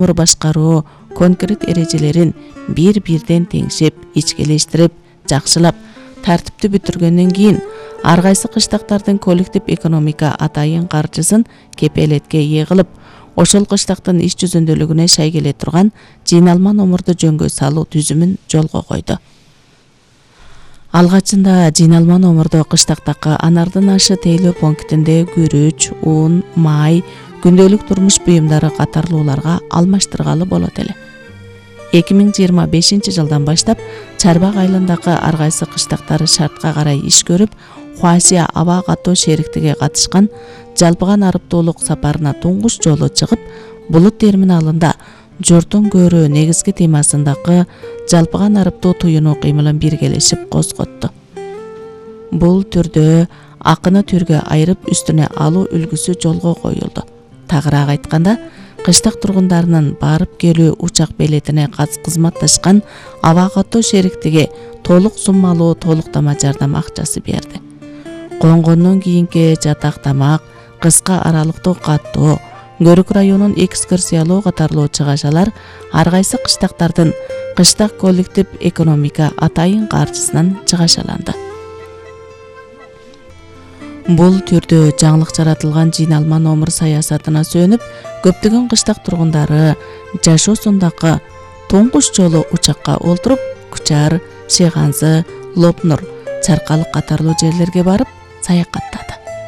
башкаруу конкрет эрежелерин бир-бирден теңшеп, ичкелештирип, жакшылап, тартиптүү бүтүргөндөн кийин ар кайсы кыштактардын коллектив экономика атайын каржысын кепелетке ээ кылып, ошол кыштактын иш жүзүндөлүгүнө шай келе турган жыйналма номурду жөнгө салуу түзүмүн жолго койду. Алгачында жыйналма номурду кыштактагы анардын ашы тейлөө пунктинде күрүч, ун, май, күндөлүк турмуш буюмдары катарлууларга алмаштыргалы болот эле. 2025 жылдан баштап Чарбак айылындагы ар кайсы кыштактары шартка карай иш көрүп, Хуасия аба катуу шериктиги катышкан жалпыган арыптуулук сапарына туңгуш жолу чыгып, Булут терминалында журттун көрүү негизги темасындагы жалпыган арыптуу туюнуу кыймылын биргелешип козготту. Бул түрдө акыны түргө айырып үстүнө алуу үлгүсү жолго коюлду. Тагыраак айтканда, кыштак тургундарынын барып келүү учак билетине кызматташкан аба катуу шериктиги толук суммалуу толуктама жардам акчасы берди. Конгондон кийинки жатак тамак, кыска аралыктуу каттоо, Көрүк районун экскурсиялоо катарлуу чыгашалар ар кайсы кыштактардын кыштак коллектив экономика атайын каржысынан чыгашаланды. Бул түрдө жаңылык жаратылган жыйналма номур саясатына сүйөнүп, көптөгөн кыштак тургундары жашоосундагы туңгуш жолу учакка олтуруп, Кучар, Шиганзы, Лопнур, Чаркалык катарлуу жерлерге барып саякаттады.